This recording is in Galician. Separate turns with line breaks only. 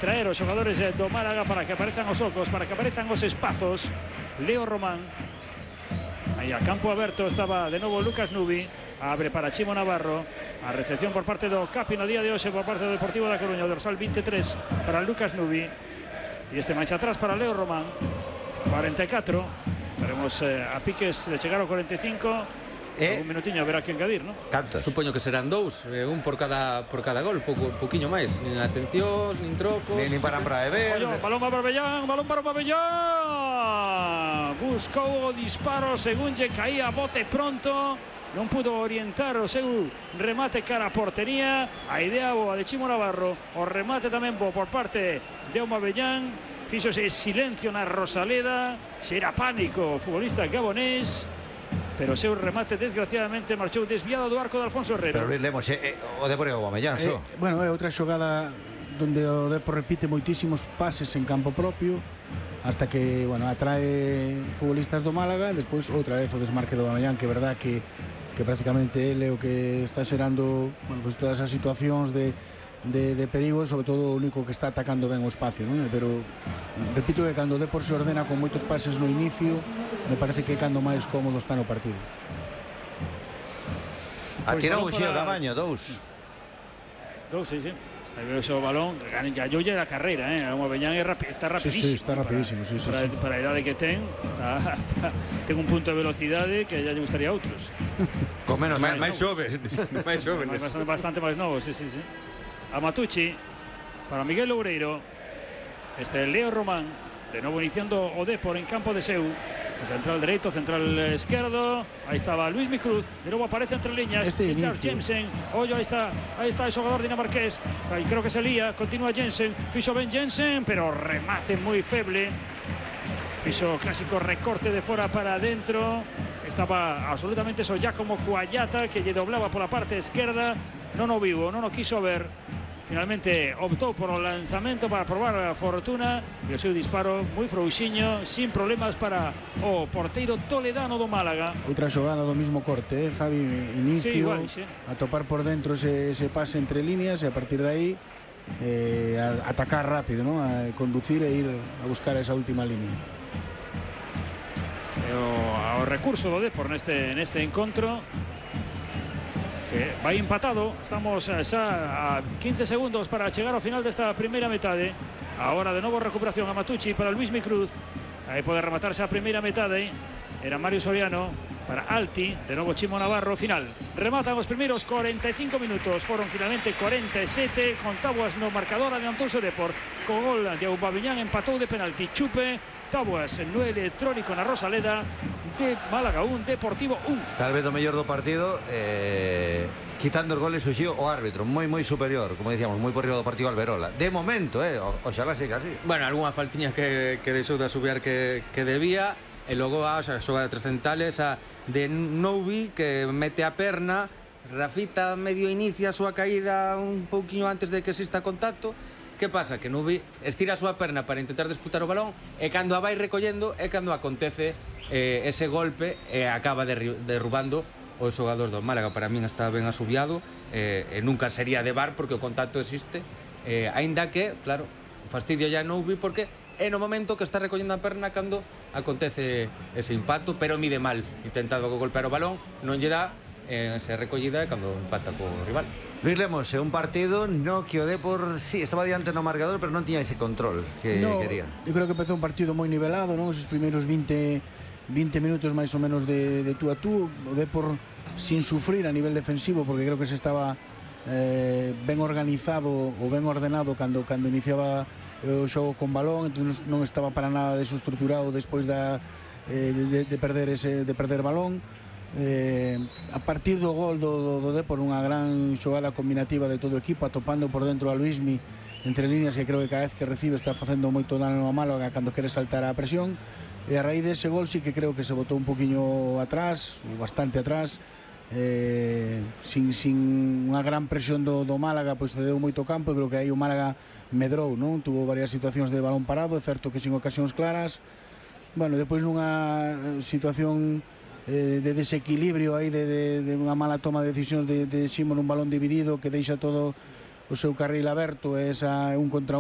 distraer os xogadores do Málaga para que aparezan os ocos, para que aparezan os espazos. Leo Román. Aí a campo aberto estaba de novo Lucas Nubi. Abre para Chimo Navarro. A recepción por parte do Capi no día de hoxe por parte do Deportivo da Coruña. Dorsal 23 para Lucas Nubi. E este máis atrás para Leo Román. 44. Estaremos a piques de chegar ao 45. Un minutiño haberá que engadir, ¿no?
Cantos?
Supoño que serán dous, un por cada gol, poquinho máis, nin atencións, nin trocos,
nin para beber.
Balón para Bellán, balón para Bellán. Buscou o disparo según lle caía a bote pronto. Non pudo orientar o seu remate cara a portería. A idea boa de Chimo Navarro. O remate tamén bo por parte de Aubameyang. Fíxose silencio na Rosaleda. Será pánico o futbolista gabonés. Pero o seu remate desgraciadamente marchou desviado do arco de Alfonso Herrero.
Pero Luis Lemos, o Depor é o Aubameyang,
bueno, é outra xogada donde o Depor repite moitísimos pases en campo propio hasta que, bueno, atrae futbolistas do Málaga. Despois outra vez o desmarque do Aubameyang, que é verdad que prácticamente ele é o que está xerando, bueno, pues todas as situacións de perigo, sobre todo o único que está atacando ben o espacio, non? Pero repito que cando o Depor se ordena con moitos pases no inicio, me parece que cando máis cómodo está no partido.
Atirou o Xío Cabaño, dous,
sí. Aí veo o balón, gallou a carreira, o Aubameyang está rapidísimo.
Sí, está rapidísimo, sí.
Para a idade que ten, ten un punto de velocidade que ya lle gustaría a outros.
Con menos
máis xoves,
bastante máis novos, sí. A Matucci para Miguel Loureiro. Este Leo Román, de novo iniciando o Depor en campo de Seu. Central dereito, central esquerdo. Aí estaba Luismi Cruz. De novo aparece entre líneas. Está Jensen. Ollo, aí está o xogador dinamarqués. Aí creo que se lía. Continúa Jensen. Fixo ben Jensen, pero remate moi feble. Fixo clásico recorte de fora para adentro. Estaba absolutamente só ya como Cuallata, que lle doblaba pola parte esquerda. Non o vivo, non o quiso ver. Finalmente optou por o lanzamento para probar a fortuna e o seu disparo moi frouxiño, sin problemas para o porteiro toledano do Málaga.
Outra xogada do mismo corte, Javi, inicio,
sí, igual, sí.
A topar por dentro ese pase entre líneas e a partir de aí a atacar rápido, ¿no? A conducir e ir a buscar esa última línea.
O recurso do Depor neste encontro, que vai empatado. Estamos xa a 15 segundos para chegar ao final desta primeira metade. Agora de novo recuperación a Matucci para Luismi Cruz. Aí pode rematarse a primeira metade. Era Mario Soriano para Alti. De novo Chimo Navarro. Final. Rematan os primeiros 45 minutos. Foron finalmente 47. Con tábuas no marcador adiantouse o Depor. Co gol de Aubameyang empatou de penalti. Chupe. Tábuas no electrónico na Rosaleda. De Málaga 1, Deportivo 1.
Tal vez do mellor do partido, quitando os goles surxiu o árbitro moi superior, como decíamos, moi por riba do partido Alberola. De momento, oxalá siga así.
Bueno, algunha faltiña que deixou de asubiar que debía, e logo a xogada de trascendentales a de Noubi, que mete a perna. Rafita medio inicia a súa caída un pouquiño antes de que exista contacto. Que pasa? Que Nubi estira a súa perna para intentar disputar o balón, e cando a vai recollendo é cando acontece ese golpe e acaba derrubando o xogador do Málaga. Para min está ben asubiado, e nunca sería de VAR porque o contacto existe, aínda que, claro, fastidio ya Nubi porque é no momento que está recollendo a perna cando acontece ese impacto, pero mide mal, intentado golpear o balón, non lle dá, se recollida cando empata co rival.
Luis Lemos, un partido no que o Depor sí, estaba diante no marcador, pero non tiña ese control que quería.
Eu creo que empezou un partido moi nivelado, non? Esos primeiros 20 minutos máis ou menos de tú a tú, o Depor sin sufrir a nivel defensivo, porque creo que se estaba ben organizado ou ben ordenado cando iniciaba o xogo con balón, entón non estaba para nada desestruturado despois de perder balón. A partir do gol do Depor, unha gran xogada combinativa de todo o equipo, atopando por dentro a Luismi entre líneas, que creo que cada vez que recibe está facendo moito dano a Málaga cando quere saltar a presión, e a raíz dese gol sí que creo que se botou un poquinho atrás, bastante atrás, sin unha gran presión do Málaga, pois cedeu moito campo, e creo que aí o Málaga medrou, non? Tuvo varias situacións de balón parado, é certo que sin ocasións claras. Bueno, depois nunha situación de desequilibrio aí de unha mala toma de decisións de Ximo nun balón dividido que deixa todo o seu carril aberto, esa un contra